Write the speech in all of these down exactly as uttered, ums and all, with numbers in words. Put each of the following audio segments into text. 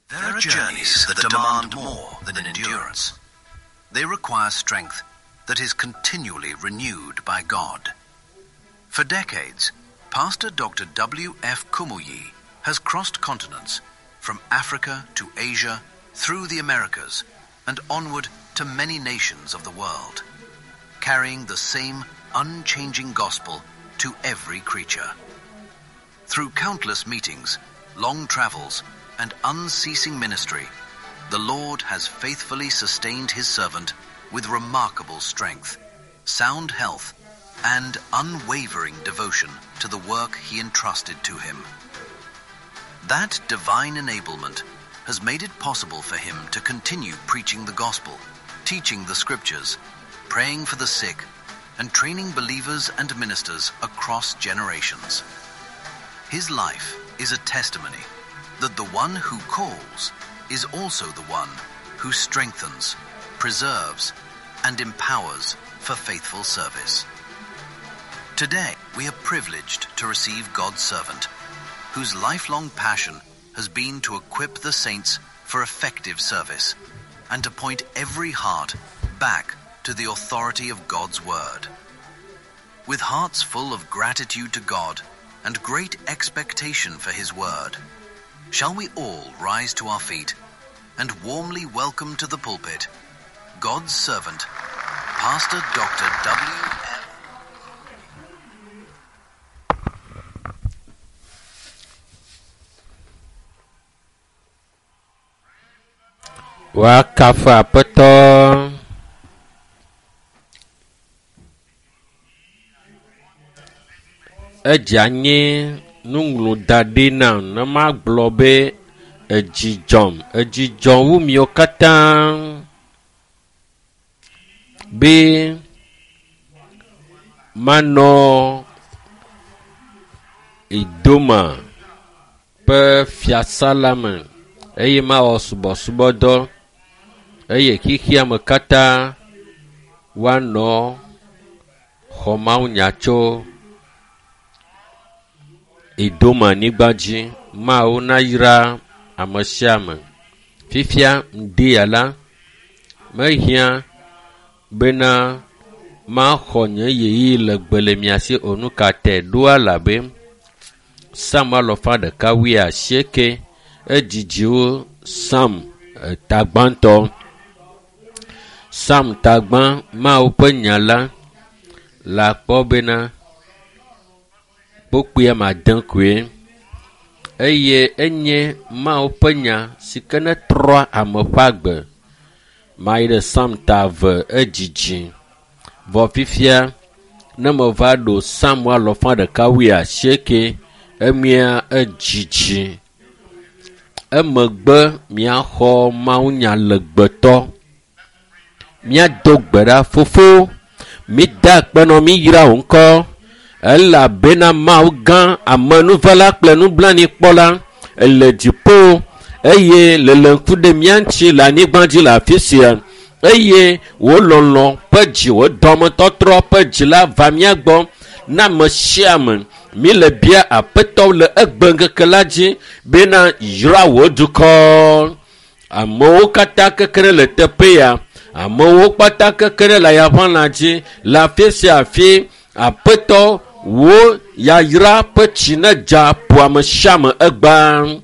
There are journeys that demand more than endurance. They require strength that is continually renewed by God. For decades, Pastor Doctor W. F. Kumuyi has crossed continents from Africa to Asia, through the Americas, and onward to many nations of the world, carrying the same unchanging gospel to every creature. Through countless meetings, long travels, and unceasing ministry, the Lord has faithfully sustained his servant with remarkable strength, sound health, and unwavering devotion to the work he entrusted to him. That divine enablement has made it possible for him to continue preaching the gospel, teaching the scriptures, praying for the sick, and training believers and ministers across generations. His life is a testimony that the one who calls is also the one who strengthens, preserves, and empowers for faithful service. Today, we are privileged to receive God's servant, whose lifelong passion has been to equip the saints for effective service and to point every heart back to the authority of God's Word. With hearts full of gratitude to God and great expectation for His Word, shall we all rise to our feet and warmly welcome to the pulpit God's servant, Pastor Doctor W. F. Woakafu Aƒetɔ. Edze anyi nuŋlɔ da ɖi nam ne magblɔ be edzi dzɔm, edzi dzɔm wu miwo katã be manɔ Idoma ƒe fiasa la me eye mawɔ subɔsubɔdɔ eye xexea me katã woanɔ xɔ mawunya tso Idoma nyigba dzi. Mawu nayra ame sia ame. Fifia ŋdi ya la, mehiã bena maxɔ nye ɣeyiɣi legbe le mia si o. Nu ka tae ɖoa labe Psalm alɔfa ɖeka wuiasieke edzidziwo Psalm tagbãtɔ. Psalm tagbã Mawu ƒe nya la le akpɔ bena kpokpuia made koe eye enye Mawu ƒe nya si ke ne trɔa ame ƒe agbe. Mayi ɖe Psalm ta eve edzidzi. Vɔ fifia ne meva ɖo Psalm alɔfa ɖeka wuiasieke emia edzidzi. Emegbe miaxɔ mawunya legbetɔ. Míado gbe ɖa fofo. Mida akpe nɔ mi yra wò ŋkɔ. Elabena Mawu gã amenuvela kple nublanuikpɔla ele dziƒo eye le le ŋku ɖe mía ŋuti le anyigba dzi le afi sia. Eye wò lɔlɔ ƒe dzi, wò dɔmetɔtrɔ ƒe dzi la va mía gbɔ na ame sia ame. Mi le bia Aƒetɔ le egbe ŋkeke la dzi bena yra wò dukɔ. Amewo katã keke ɖe le teƒe ya. Amewo kpata keke ɖe le ayaʋã dzi le afi sia afi. Aƒetɔ wò yayra ƒe tsi ne dza ƒo ame sia ame egbea.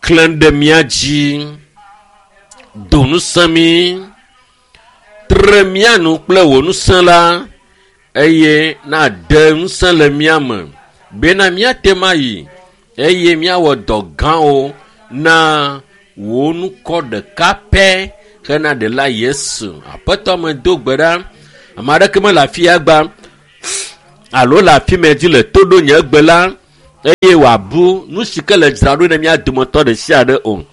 Klẽ ɖe mía dzi. Do ŋusẽ mí. Tre mía nu kple wò ŋusẽ la eye nade ŋusẽ le mía me bena míate ŋu ayi eye míawɔ dɔ gãwo na wò ŋkɔ ɖeka pɛ hena ɖela Yesu. Aƒetɔ me do gbe ɖa. Ame aɖeke mele afi ya gba alo le afi mɛ dzi le to ɖo nye gbe la eye wòabu nu si ke le dzra ɖo ne mía dometɔ ɖe sia ɖe o.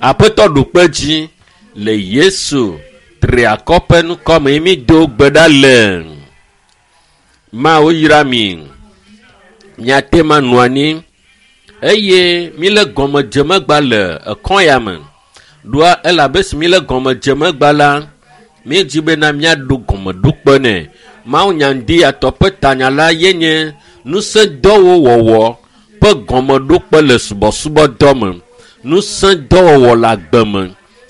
Aƒetɔ ɖo kpe dzi le Yesu triakɔ ƒe ŋkɔ me mi do gbe ɖa le. Mawu yra mi. Miate ŋu anɔ anyi eye mi le gɔmedzemegba le ekɔ ya me. Ɖoa elabe si mi le gɔmedzemegba la, mi dzi bena míaɖo gɔmeɖokpe nɛ. Mawu nya ŋdi ya tɔ ƒe tanya la ye nye ŋusẽdɔwo wɔwɔ ƒe gɔmeɖokpe le subɔsubɔdɔ me, ŋusẽ dɔwɔwɔ le agbe me,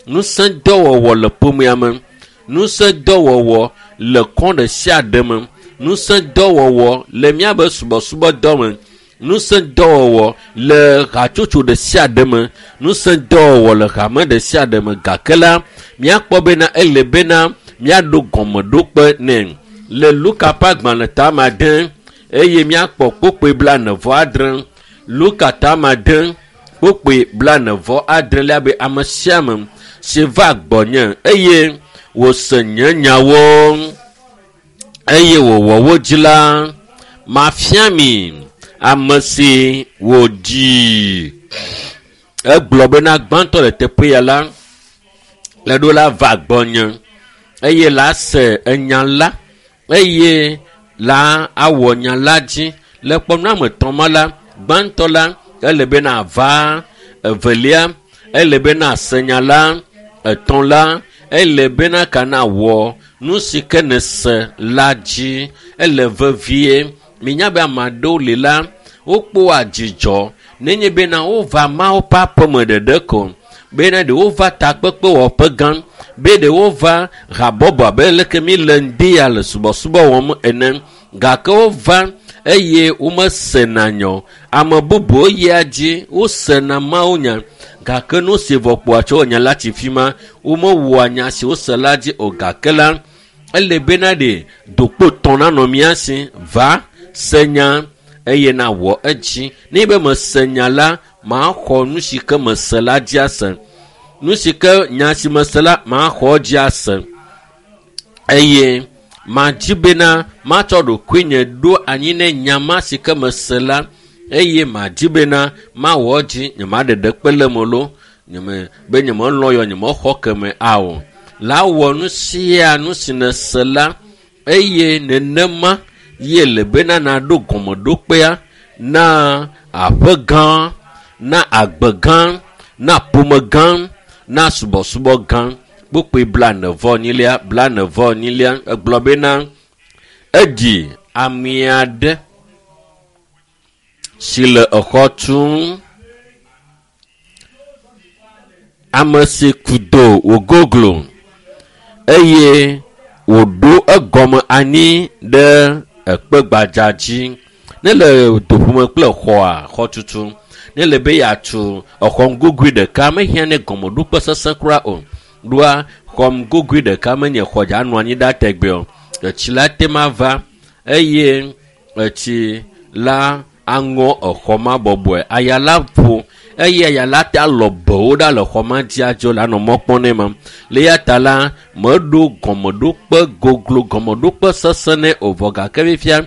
ŋusẽ dɔwɔwɔ le ƒomea me, ŋusẽ dɔwɔwɔ le kɔ ɖe sia ɖe me, ŋusẽ dɔwɔwɔ le míabe subɔsubɔdɔ me, ŋusẽ dɔwɔwɔ le hatsotso ɖe sia ɖe me, ŋusẽ dɔwɔwɔ le hame ɖe sia ɖe me. Gake la, míakpɔ bena ele bena míaɖo gɔmeɖokpe nɛ. Le Luka ƒe agbalẽ tame ade eye míakpɔ kpokpoe blaene vɔ adre. Luka tame ade kpokpoe blaene vɔ adre lia be ame sia ame si va gbɔnye eye wòse nye nyawo eye wòwɔ wo dzi la, mafia mi ame si wòdzi. Egblɔ bena gbãtɔ le teƒe ya la, le ɖo la va gbɔnye eye la se enya la eye la awɔ nya la dzi. Le kpɔnu ame etɔ̃ ma la, gbãtɔ la ele bena va, evelia ele bena se nya la, etɔ̃ la ele bena kana wɔ nu si ke ne se la dzi. Ele vevie. Minya be ame aɖewo li la, wokpɔa dzidzɔ nenye bena wova Mawu ƒe aƒeme ɖeɖe ko, bena ɖe wova takpekpewɔƒe gã, be ɖe wova habɔbɔ abe leke mi le ŋdi ya le subɔsubɔ wɔm ene. Gake wova eye womesena nya o. Ame bubuwo yia dzi, wosena Mawu nya, gake nu si vɔ kpoa tso nya la tsi fi ma, womewɔa nya si wose la dzi o. Gake la, ele bena ɖe dokpo tɔ̃ nanɔ mía si, va se nya eye nawɔ edzi. Ne be mese nya la, maxɔ nu si ke mese la dzi ase. Nu si ke nya si mese la, maxɔ dzi ase. Eye madzi bena matsɔ ɖokuinye ɖo anyi ne nya ma si ke mese la, eye madzi bena mawɔ edzi, nyemaɖe ɖekpe le eme loo, nyeme, be nyemelɔ̃ yɔ, nyemexɔ keme ao. La wɔ nu sia nu si nese la, eye nenema ye le bena naɖo gɔmeɖokpea na aƒe gã, na agbe gã, na ƒome gã, na subɔsubɔ gã. Kpokpoe blaene vɔ enyilia, blaene vɔ enyilia, egblɔ bena edzi ame aɖe si le exɔ tum, ame si ku do wògoglo eye wòɖo egɔme anyi ɖe ekpe gbadza dzi. Ne le doƒome kple xɔa, xɔtutu, ne le be yeatu exɔ ŋgogoe ɖeka, mehiã ne gɔmeɖokpe sesẽ kura o. Ɖoa xɔ ŋgogoe ɖeka menye xɔ dza anɔ anyi ɖa tegbee o. Etsi la te ma va eye etsi la aŋɔ exɔ ma bɔbɔe. Aya la ƒo eye aya la te alɔ bewo ɖa le xɔ ma dzi adzo le anɔ mɔ kpɔm nɛ ma. Le eya ta la, meɖo gɔmeɖokpe goglo, gɔmeɖokpe sesẽ nɛ o vɔ gake fifia,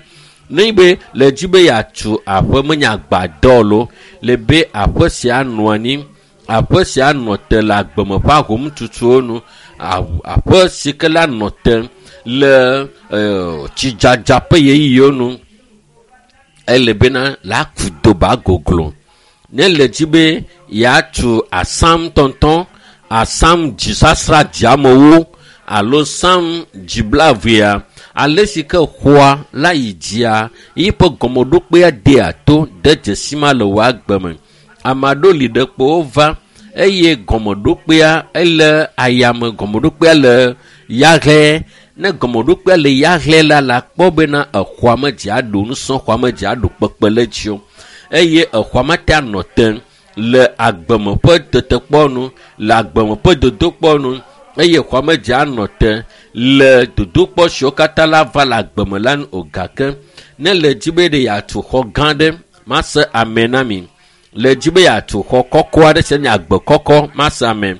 ne be le dzi be yeatu aƒe menye agbadɔ loo, le be aƒe sia nɔ anyi, aƒe sia nɔ te le agbeme ƒe ahomtutuwo nu, aƒe si ke la nɔ te le e, tsidzadza ƒe ɣeyiɣiwo nu, ele bena la ku do ba goglo. Ne le dzi be yeatu asam tɔntɔn, asam dzisasra dziamewo alo sam dziblaevea, ale si ke xɔa la yi dzia, yiƒe gɔmeɖokpea dea to de dzesi ma le wò agbe me. Ame aɖewo li ɖe kpo wova eye gɔmeɖokpea ele ayame, gɔmeɖokpea le yahlɛ. Ne gɔmeɖokpea le yahlɛ la, la kpɔ bena exɔa me dzi aɖo nusẽ, xɔa me dzi aɖo kpekpe le dzi o. Eye exɔa me te anɔ te le agbeme ƒe tetekpɔ nu, le agbeme ƒe dodokpɔ nu, eye xɔa me dzi anɔ te le dodokpɔ siwo katã la va le agbeme la nu o. Gake ne le dzi be ɖe yeatu xɔ gã ɖe, mase ame na mi. Le dzi be yeatu xɔ kɔkɔ aɖe si nye agbe kɔkɔ, mase ame.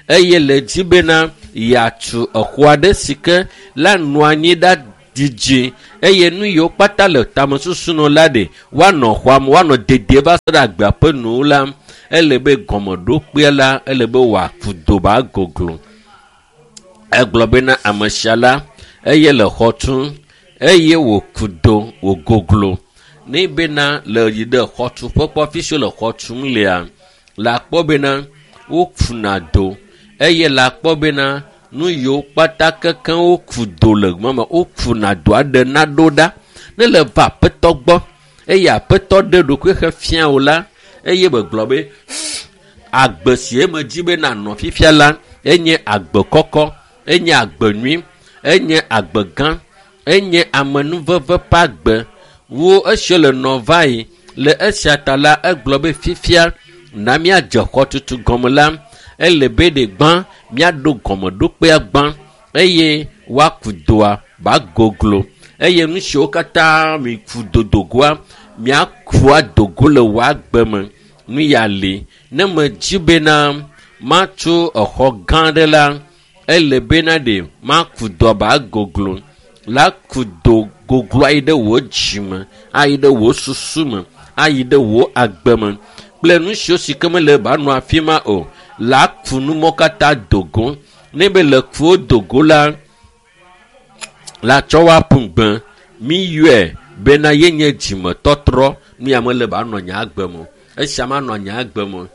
Eye le dzi bena yeatu exɔ aɖe si ke la nɔ anyi ɖa dzidzi eye nu yiwo kpata le tamesusu nɔ la ɖe woanɔ xɔa me, woanɔ dedie va se ɖe agbea ƒe nuwo la, ele be gɔmeɖokpea la, ele be wòaku do ba goglo. Egblɔ bena ame sia la, eye le xɔ tum eye wòku do wògoglo. Ne bena le yi ɖe xɔtuƒe kpɔ afi si wole xɔ tum lea, la kpɔ bena wokuna do eye la kpɔ bena nu yiwo kpata kekeŋ woku do le mame, wokuna do aɖe naɖo ɖa. Ne le va aƒetɔ gbɔ eye aƒetɔ ɖe ɖokui xe fia wo la eye megblɔ be agbe si eme dzi be nanɔ fifia la enye agbe kɔkɔ enye agbe nyui enye agbe gã enye amenuveve ƒe agbe wo esi le nɔ va yi le esia ta la egblɔ be fifia na míadze xɔtutu gɔme la ele be ɖe gbã míaɖo gɔmeɖokpea gbã eye woaku doa ba goglo eye nu siwo katã mi ku dodogoa míaku adogo le wò agbe me nu ya li ne medzi bena matso exɔ gã aɖe la ele bena ɖe maku doa ba goglo la ku do goglo ayi ɖe wò dzime ayi ɖe wò susu me ayi ɖe wò agbe me kple nu siwo si ke mele ba nɔ afi ma o la ku numɔ katã dogo ne be le kuwo dogo la la tsɔ wa ƒu gbe mi yɔe bena yenye dzimetɔtrɔ nu ya mele ba nɔ nye agbe me o esia ma nɔ nye agbe me o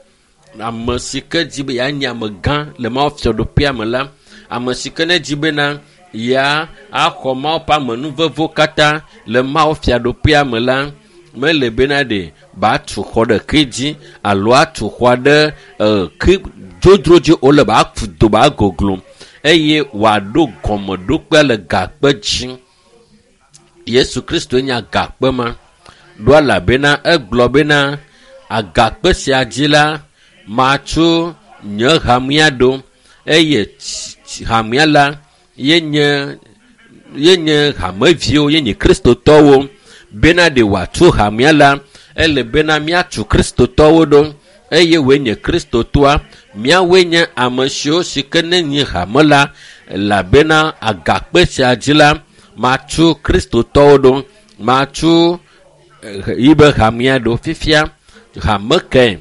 ame si ke dzi be yeanye ame gã le Mawu fiaɖuƒea me la ame si ke ne dzi bena ya axɔ Mawu ƒe amenuvevewo katã le Mawu fiaɖuƒea me la mele bena ɖe ba tu xɔ ɖeke dzi alo atu xɔa ɖe ke dzodzro dzi wole ba ku do ba goglo eye wòaɖo gɔmeɖokpea le gakpe dzi. Yesu Kristo nye agakpe ma ɖo elabena egblɔ bena agakpe sia dzi la matso nye hamea ɖo eye hamea la yenye yenye hameviwo yenye kristotɔwo bena ɖe wòatu hamea la ele bena míatu kristotɔwo ɖo eye woe nye kristotɔa míawoe nye ame siwo si ke ne nye hame la elabena agakpe sia dzi la matu kristotɔwo ɖo matu yibe hamea ɖo fifia hame ke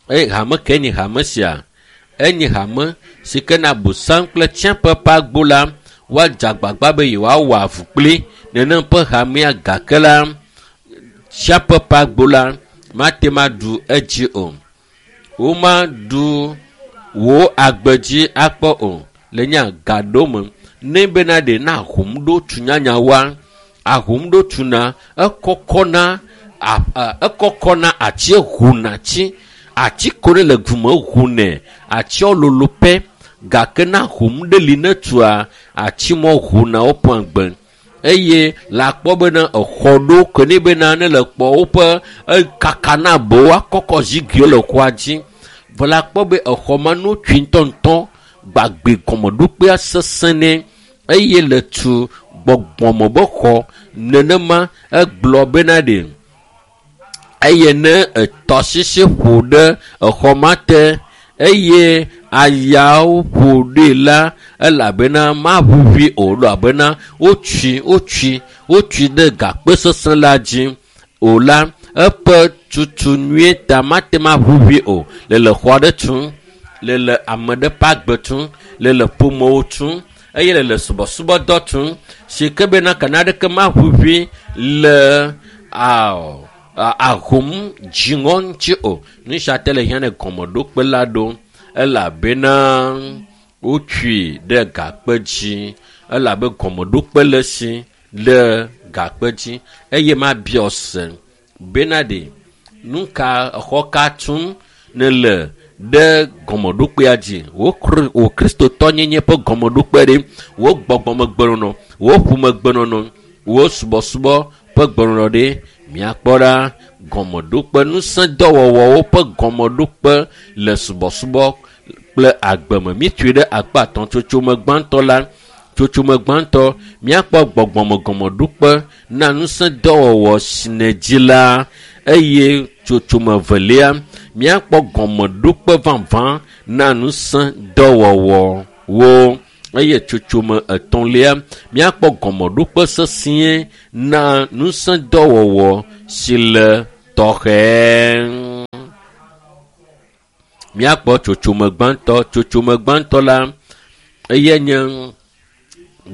eye hame ke nye hame sia enye hame si ke na busam kple tsiaƒe ƒe agbo la woadze agbagba be yewoawɔ avu kpli nenem ƒe hamea gake la tsiaƒe ƒe agbo la mate ma ɖu edzi o womaɖu wò agbe dzi akpɔ o le nye gaɖo me ne bena ɖe na ahom ɖo tu nyanyawoa ahom ɖo tuna ekɔkɔna ekɔkɔna ati ʋuna tsi ati ko ɖe le gume ʋunɛ atiawo lolo pɛ gake na ahom ɖe li ne tua ati mɔ ʋuna woƒe agbe eye le akpɔ bena exɔ ɖo ke ne bena ne le kpɔ woƒe ekaka na bo akɔkɔ zigiwo le xɔa dzi vɔ le akpɔ be exɔ ma no tui ŋutɔŋutɔ gbagbe gɔmeɖokpea sesẽ nɛ eye le tu gbɔgbɔme be xɔ nenema egblɔ bena ɖe eye ne etɔsisi ƒo ɖe exɔ ma te eye ayawo ƒo ɖee la elabena maʋuʋui o elabena wotui wotui wotui ɖe gakpe sesẽ la dzi o la eƒe tutu nyuie ta mate ma ʋuʋui o le le xɔ aɖe tum le le ame ɖe ƒe agbe tum le le ƒomewo tum eye le le subɔsubɔdɔ tum si ke bena kana aɖeke maʋuʋui le awɔ ahom dziŋɔ ŋuti o nu sia te le hiã ne gɔmeɖokpe la ɖo elabena wotui ɖe gakpe dzi elabe gɔmeɖokpe le si ɖe gakpe dzi eye mabiɔ se bena ɖe nu ka exɔ ka tum ne le ɖe gɔmeɖokpea dzi wò wò kristotɔnyenye ƒe gɔmeɖokpe ɖe wò gbɔgbɔmegbenɔnɔ wò ƒomegbenɔnɔ wò subɔsubɔ ƒe gbenɔnɔ ɖe míakpɔ ɖa gɔmeɖokpe ŋusẽdɔwɔwɔwo ƒe gɔmeɖokpe le subɔsubɔ kple agbe me míetui ɖe akpa atɔ̃ tsotsome gbãtɔ la tsotsome gbãtɔ míakpɔ gbɔgbɔme gɔmeɖokpe na ŋusẽdɔwɔwɔ si ne dzi la eye tsotsome velia míakpɔ gɔmeɖokpe vavã na ŋusẽdɔwɔwɔwo eye tsotsome etɔ̃lia míakpɔ gɔmeɖokpe sesĩe na ŋusẽdɔwɔwɔ si le tɔxɛ. Míakpɔ tsotsome gbãtɔ tsotsome gbãtɔ la eye nye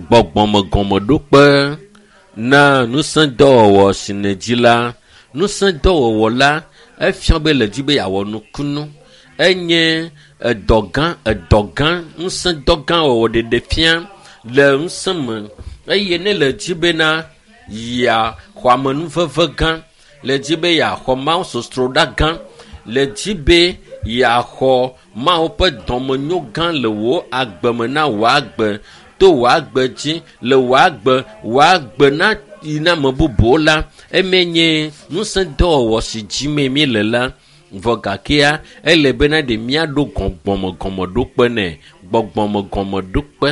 gbɔgbɔme gɔmeɖokpe na ŋusẽdɔwɔwɔ si ne dzi la ŋusẽdɔwɔwɔ la efia be le dzi be yeawɔ nukunu enye edɔ gã edɔ gã ŋusẽdɔ gã wɔwɔ ɖeɖe fia le ŋusẽ me eye ne le dzi bena yeaxɔ amenuveve gã Le dzi be yeaxɔ Mawu sosroɖa gã. Le dzi be yeaxɔ Mawu ƒe dɔmenyo gã le wò agbe me na wò agbe to wò agbe dzi le wò agbe wò agbe na yi na ame bubuwo la eme nye ŋusẽ dɔwɔwɔ si dzi me mi le la vɔ gakea ele bena ɖe míaɖo gbɔgbɔme gɔmeɖokpe nɛ gbɔgbɔme gɔmeɖokpe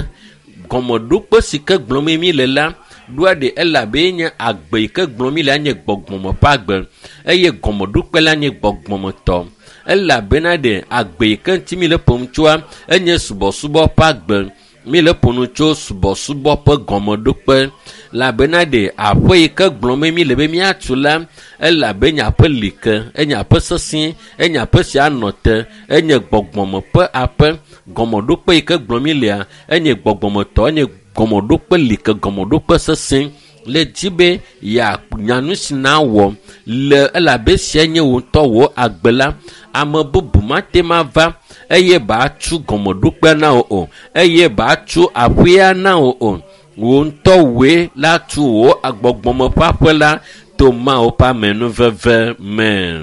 gɔmeɖokpe si ke gblɔm mi le la ɖoa ɖe elabe nye agbe yi ke gblɔm mi le nye gbɔgbɔme ƒe agbe eye gɔmeɖokpe la nye gbɔgbɔmetɔ elabena ɖe agbe yi ke ŋuti mi le ƒom tsoa enye subɔsubɔ ƒe agbe mi le ƒo nu tso subɔsubɔ ƒe gɔmeɖokpe elabena ɖe aƒe yi ke gblɔm mi le be míatu la elabe nye aƒe li ke enye aƒe sesẽ enye aƒe si anɔ te enye gbɔgbɔme ƒe aƒe gɔmeɖokpe yi ke gblɔm mi lea enye gbɔgbɔmetɔ enye gɔmeɖokpe li ke gɔmeɖokpe sesẽ le dzi be yeanya nu si na wɔ le elabe sia nye wò ŋutɔ wò agbe la ame bubu mate ma va eye batu gɔmeɖokpea na wò o eye batu aƒea na wò o wò ŋutɔ wòe la tu wò agbɔgbɔme ƒe aƒe la to Mawu ƒe amenuveve me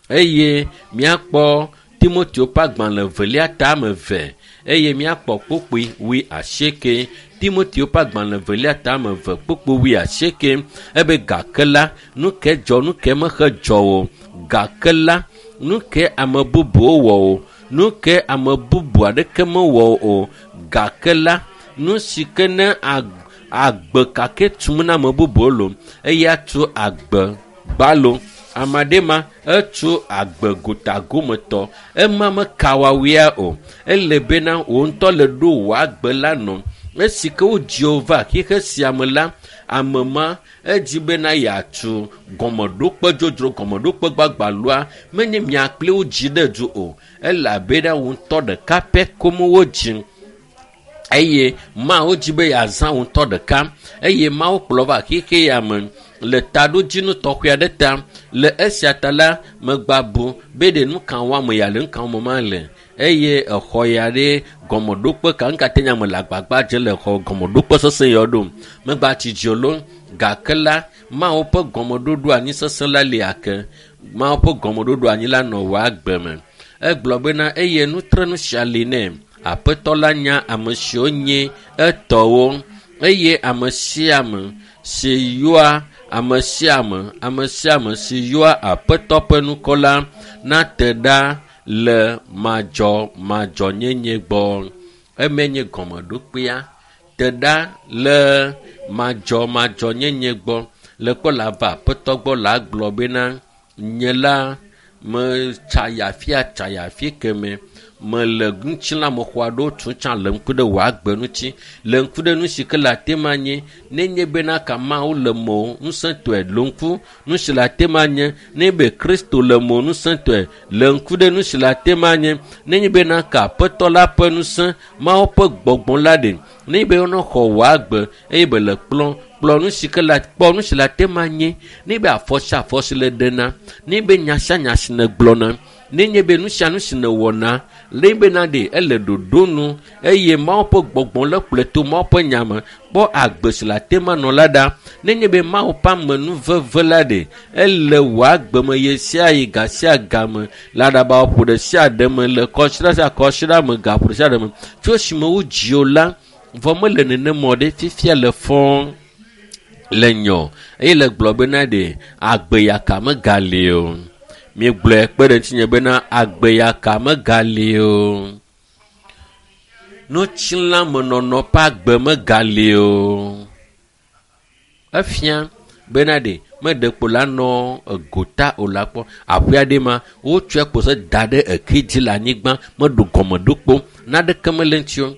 eye míakpɔ Timoteo ƒe agbalẽ evelia ta eve eye míakpɔ kpukpui wui asieke Timoteo ƒe agbalẽ evelia ta eve kpukpui wui asieke ebe gake la nu ke dzɔ nu ke mexe dzɔ o gake la nu ke ame bubuwo wɔ o nu ke ame bubu aɖeke mewɔ o gake la nu si ke ne agbe kake tum na ame bubuwo lo eya tu agbe gbalo ame aɖe ma etu agbe gotagometɔ ema mekawawia o ele bena wò ŋutɔ le ɖo wò agbe la nɔ esi ke wodzi wò va xixe sia me la ame ma edzi bena yeatu gɔmeɖokpe dzodzro gɔmeɖokpe gbagbalɔa menye mia kple wo dzi ɖe du o elabena wò ŋutɔ ɖeka pɛ kom wodzi eye Mawu dzi be yeazã wò ŋutɔ ɖeka eye Mawu kplɔ va xixe ya me le taɖodzinu tɔxɛ aɖe ta le esia ta la megba bu be ɖe nu ka wɔm ya le nu ka wɔm ma le eye exɔ ya ɖe gɔmeɖokpe ka nu ka te nya me le agbagba dze le xɔ gɔmeɖokpe sesẽ ya ɖom megba tsi dzi o gake la Mawu ƒe gɔmeɖoɖo anyi sesẽ la li ake Mawu ƒe gɔmeɖoɖo anyi la nɔ wò agbe me egblɔ bena eye nutrenu sia li nɛ aƒetɔ la nya ame siwo nye etɔwo eye ame sia ame si yɔa ame sia ame ame sia ame si yɔa aƒetɔ ƒe ŋkɔ la nate ɖa le madzɔmadzɔnyenye gbɔ eme nye gɔmeɖokpea te ɖa le madzɔmadzɔnyenye gbɔ le kpɔ la va aƒetɔ gbɔ la gblɔ bena nye la metsa yi afia tsa yi afi keme mele ŋutilãmexɔ aɖewo tum tsã le ŋku ɖe wò agbe ŋuti le ŋku ɖe nu si ke le ate ma nye nenye bena ka Mawu le mɔ ŋusẽtɔe le ŋku nu si le ate ma nye nenye be Kristo le mɔ ŋusẽtɔe le ŋku ɖe nu si le ate ma nye nenye bena ka aƒetɔ la ƒe ŋusẽ Mawu ƒe gbɔgbɔ la ɖe nenye be wonɔ xɔ wò agbe eye be le kplɔ kplɔ nu si ke le kpɔ nu si le ate ma nye nenye be afɔ sia afɔ si le ɖena nenye be nya sia nya si nègblɔna nenye be nu sia nu si nèwɔna le bena ɖe ele ɖoɖo nu eye Mawu ƒe gbɔgbɔ le kplɔe to Mawu ƒe nya me kpɔ agbe si le ate ma nɔ la ɖa nenye be Mawu ƒe amenuveve la ɖe ele wò agbe me ɣe sia ɣi ga sia game le aɖabaƒoƒo ɖe sia ɖe me le kɔsiɖa sia kɔsiɖa me gaƒo ɖe sia ɖe me tso esime wodzi wò la vɔ mele nenema o ɖe fifia le fɔɔ le nyɔ eye le gblɔ bena ɖe agbe yaka megali o miegblɔe kpe ɖe ŋutinye bena agbe yaka megali o ŋutilãmenɔnɔ ƒe agbe megali o efia bena ɖe meɖe kpo la nɔ egota o la kpɔ aƒe aɖe ma wotsɔe kpo se da ɖe eke dzi le anyigba meɖo gɔmeɖokpo naɖeke mele ŋuti o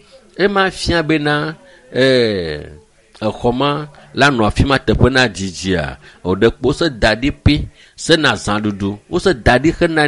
ema fia bena ɛɛ exɔ ma la nɔ afi ma teƒe na dzidzia o ɖe kpo se da ɖi pi sena zãɖuɖu wose da ɖi hena